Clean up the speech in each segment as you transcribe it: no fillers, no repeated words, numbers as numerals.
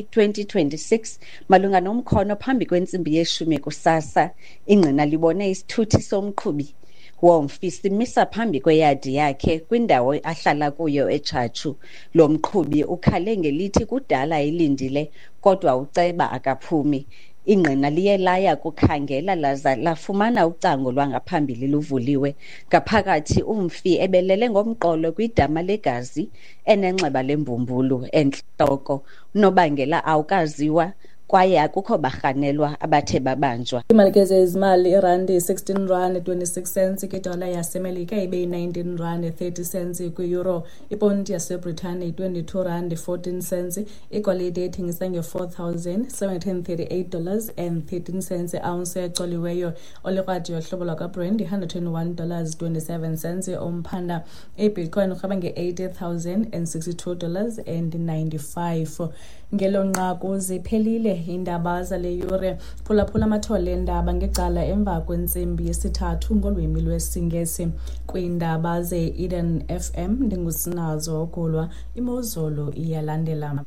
2026 malunga nomkhono phambi kwentsimbi yeshumi kusasa. Ingqina libone isithuthi somqhubi womfi simisa phambi kweyadi yakhe kwindawo ahlala kuyo eTshatshu. Lo mqhubi ukhale ngelithi kudala elindile kodwa uceba akaphumi. Ingqina liye laya kukhangela laza lafumana ucango lwangaphambili luvuliwe. Ngaphakathi umfi ebelele ngomqolo kwidama legazi enenxeba lembumbulu entloko. Unobangela awukaziwa kwaye akukho barhanelwa abathe babanjwa. Imali ke zezimali, irandi 16 rand 26 cents kwidola yaseMelika, ibe yi-19 rand 30 cents kwi-euro. Iponti yaseBritane yi-22 rand 14 cents. Igolide ithengisa nge-$4,738 and 13 cents i-ounce ecoliweyo. Olikrwada yohlobo lwakwaBrand yi-$121 27 cents umphanda. Ibitcoin urhweba nge-$80,062 and 95. Ngelo nqaku ziphelile iindaba zale yure. Phulaphula amathole eendaba ngecala emva kwentsimbi yesithathu ngolwimi lwesiNgesi. Kwiindaba ze-Eden FM ndinguSinazo Ogulwa. Imozulu iyalandela.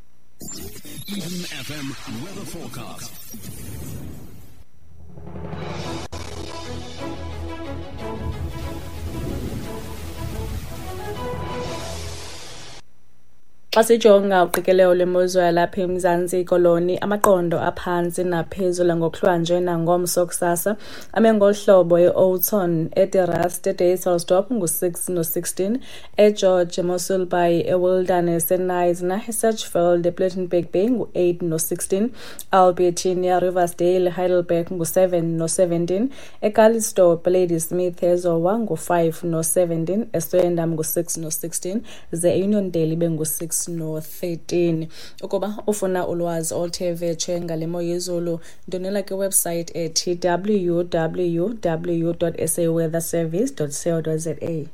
Eden FM weather forecast. Xa sijonga uqikelelo lwemozulu yalapha eMzantsi Koloni, amaqondo aphantsi naphezulu ngokuhlwanje nangomso kusasa ame ngolu hlobo: eOudtshoorn, eDe-Rust, eDysselsdorp ngu-6 no-16, eGeorge, eMossel Bay, eWilderness, eKnysna, eSedgefield, ePlettenberg Bay ngu-8 no-16, Albertinia, Riversdale, Heidelberg ngu-7 no-17, eCalitzdorp, Ladysmith, eZowa ngu-5 no-17, eSwellendam ngu-6 no-16, ze eUniondale ibe ngu-6 no-13. Ukuba ufuna ulwazi oluthe vetshe ngale mo yezulu, ndonela kwiwebsayithi ethi www.saweatherservice.co.za.